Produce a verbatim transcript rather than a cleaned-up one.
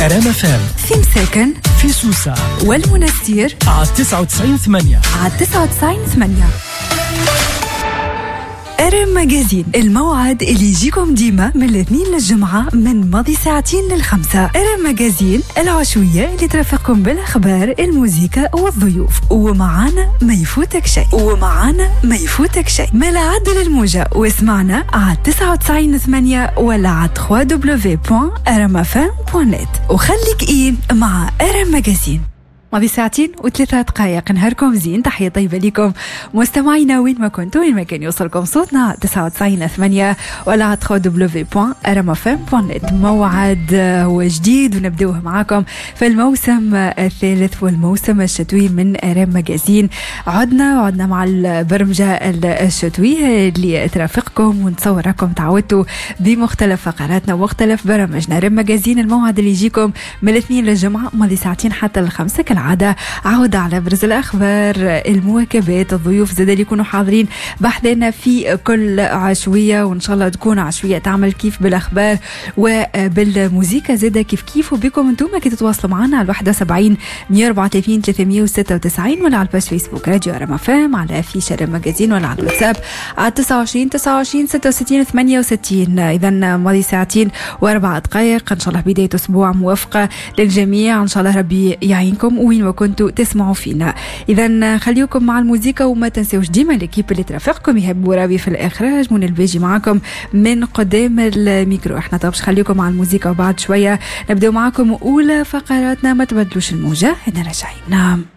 ار ام اف ام في مساكن، في سوسة والمنستير على تسعة وتسعين ثمانية، على تسعة وتسعين ثمانية. ار ام Magazine، الموعد اللي يجيكم ديما من الاثنين للجمعة من ماضي ساعتين للخمسة. ار ام Magazine العشوية اللي ترافقكم بالأخبار، الموزيكا والضيوف، ومعانا ما يفوتك شيء، ومعانا ما يفوتك شيء. ما لا عدل الموجة واسمعنا على تسعة وتسعين ثمانية ولا على دبليو دبليو دبليو دوت ار ام اف ام دوت نت، وخليك إين مع ار ام Magazine. ماضي ساعتين وثلاثة دقائق، نهاركم زين، تحية طيبة لكم مستمعينا وين ما كنتوا، وين ما كان يوصلكم صوتنا تسعة وتسعين ثمانية ولا على دبليو دبليو دبليو دوت ار ام اف ام دوت نت. موعد هو جديد ونبدأه معاكم في الموسم الثالث والموسم الشتوي من ار ام Magazine. عدنا وعدنا مع البرمجة الشتوية اللي ترافقكم ونتصور راكم تعودتوا بمختلف فقراتنا ومختلف برامجنا. ار ام Magazine الموعد اللي يجيكم من الاثنين للجمعة ماضي ساعتين حتى الخمسة كالعادة، عودة على أبرز الأخبار، المواكبات، الضيوف زاد اللي يكونوا حاضرين بحذنا في كل عشوية، وإن شاء الله تكون عشوية تعمل كيف بالأخبار وبالموزيكا زاد كيف كيف. وبكم انتم كي تتواصلوا معنا على واحد وسبعين مية وأربعة وثلاثين ثلاثمية وستة وتسعين ولا على ال page فيسبوك راديو ار ام اف ام، على affiche ار ام Magazine، ولا على الواتساب على تسعة وعشرين تسعة وعشرين ستة وستين ثمانية وستين. إذا ماضي ساعتين وأربع دقائق، إن شاء الله بداية أسبوع موفقة للجميع، إن شاء الله ربي يعينكم وين ما كنتوا تسمعوا فينا. إذا خليكم مع الموزيكا وما تنسوش ديما l'équipe اللي ترافقكم، يهب ورابي في الإخراج، منى الباجي معاكم من قدام الميكرو. احنا طب خليكم مع الموزيكا وبعد شوية نبدأ معاكم أولى فقراتنا، ما تبدلوش الموجة، احنا راجعين. نعم.